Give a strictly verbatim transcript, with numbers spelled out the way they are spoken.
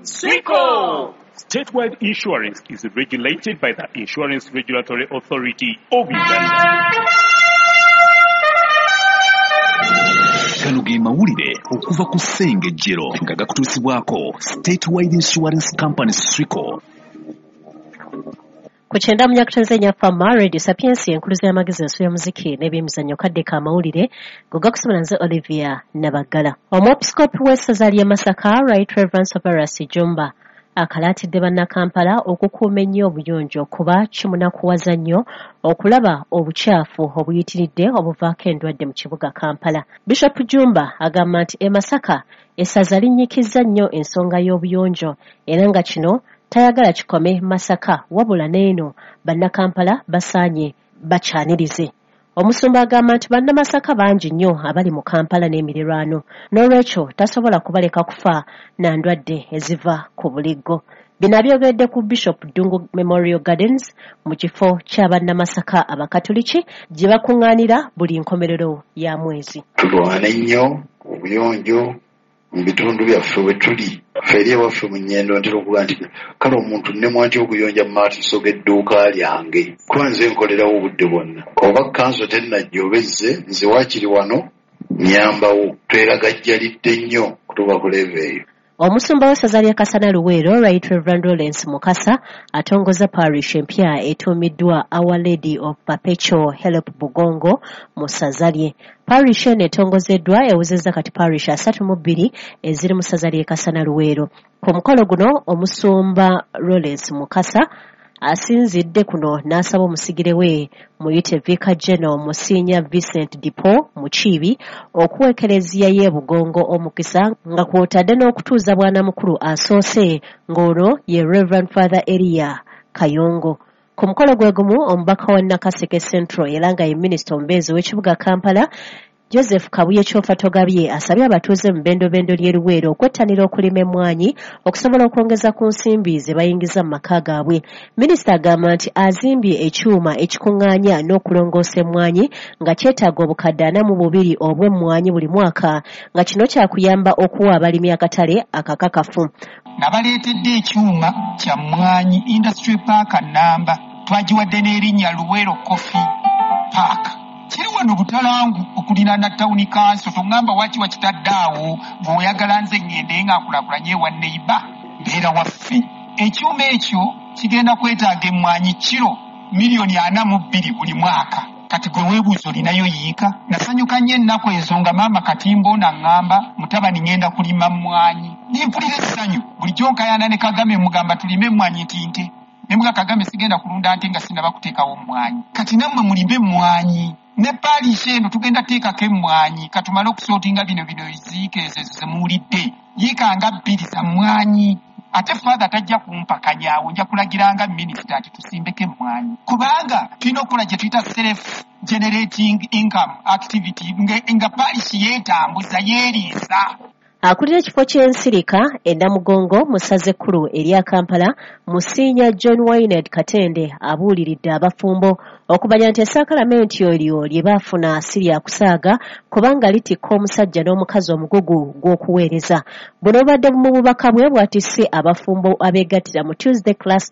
Swico! Statewide Insurance is regulated by the Insurance Regulatory Authority of Uganda. Gano ge mawulire okuva ku Ssengejjero nga gakutuusibwako Statewide Insurance Company Swico. Ku kyenda mu nyakutenze Fama Radio Sapiensia, enkuluza y'amagezi, ensu y'omuziki n'ebyemizannyo. Kadde ka mawulire go gakusomera nze Olivia Nabaggala. Omwepiskopi w'essaza ly'e Masaka, Right Reverend Serverus Jjumba, akalaatidde bannakampala okukuuma ennyo obuyonjo, kuba kimunakuwaza nnyo okulaba obukyafu obuyitiridde obuvaako endwadde mu kibuga Kampala. Bishop Jjumba agamba nti e Masaka essaza linnyikizza nnyo ensonga y'obuyonjo, era nga kino tayagala kikome Masaka, wabula n'eno bannakampala basaanye bakyanirize. Omusumba agamba nti bannamasaka bangi nnyo abali mu Kampala n'emirirwano, n'olwekyo tasobola kubaleka kufa na ndwadde eziva ku buliggo. Bino abyogedde ku Bishop Ddungu Memorial Gardens mu kifo ky'abannamasaka abakatuliki gye bakuŋŋaanira buli nkomerero ya mwezi. Tulwane nnyo obuyonjo mu bitundu byaffe we tuli. Ffe eri ewaffe mu Nnyendo ntera okuga nti kale omuntu nnemwa ntya okuyonja mu maaso g'edduuka lyange, kuba nze nkolerawo obudde bwonna. Oba kanso tennajja oba ezze, nze waakiri wano nnyambawo. Tweragajjalidde nnyo kutuuka ku level eyo. Omusumba w'essaza ly'e Kasana Luweero, Right Reverend Lawrence Mukasa, atongoza parish empya etuumiddwa Our Lady of Perpetual Help Bugongo mu ssaza lye. Parish eno etongozeddwa ewezezza kati parish asatu mu bbiri eziri mu ssaza ly'e Kasana Luweero. Ku mukolo guno omusumba Lawrence Mukasa asinzidde kuno n'asaba omusigire we muyite Vicar General Monsignor Vincent de Paul Mukiibi okuwa Ekereziya y'e Bugongo omukisa, nga kw'otadde n'okutuuza bwanamukulu asoose, ng'olwo ye Reverend Father Elia Kayongo. Ku mukolo gwe gumu omubaka wa Nakaseke Central era nga ye minisita omubeezi w'ekibuga Kampala, Joseph Kabuye Kyofatogabye, asabye abatuuze mu bendobendo ly'e Luweero okwettanira okulima emmwanyi okusobola okwongeza ku nsimbi ze bayingiza mu maka gaabwe. Minisita agamba nti azimbye ekyuma ekikuŋŋaanya n'okulongoosa emmwanyi nga kyetaaga obukadde ana mu bubiri obw'emmwanyi buli mwaka, nga kino kyakuyamba okuwa abalimi akatale akakakafu. Nabaleetedde ekyuma kya mmwanyi industry park namba, twagiwadde n'erinnya Luweero Coffee Park. Kiri wano Butalangu okuliraana town council. Toŋŋamba waki wakitadde awo bw'oyagala nze ŋŋende nga nkulaakulanye ewa neighbour, mbeera waffe. Ekyuma ekyo kigenda kwetaaga emmwanyi kiro miliyoni ana mu bbiri buli mwaka. Kati gwe weebuuza, olinayo yiika? Nasanyuka nnyo ennaku ezo nga maama Katimba ono aŋŋamba, "Mutabani, ŋŋenda kulima mmwanyi." Nempulira essanyu. Bulijjo nkayana ne Kagame, mugamba tulime emmwanyi nti nte ne muga Kagame sigenda kulunda nte nga sinnaba kuteekawo mmwanyi. Kati nammwe mulime emmwanyi. Ne parish eno tugenda teekako emmwanyi. Katumale okusootinga bino bino eziika ezo ezo zemuwulidde, yiika nga bbiri za mmwanyi. Ate Father tajja kumpakanyaawo, nja kulagiranga minisita nti tusimbeko emmwanyi, kubanga tulina okukola gye tuyita self generating income activity, nga, nga parish yeetambuza, yeeriisa. Akulira ekifo ky'ensirika e Namugongo mu ssaza ekkulu erya Kampala, Monsignor John Wynard Katende, abuuliridde abafumbo okumanya nti essakalamenti eryo lye baafuna si lya kusaaga, kubanga litikka omusajja n'omukazi omugugu gw'okuweereza. Buno bubadde mu bubaka bwe bw'atisse abafumbo abeegattira mu Tuesday Class.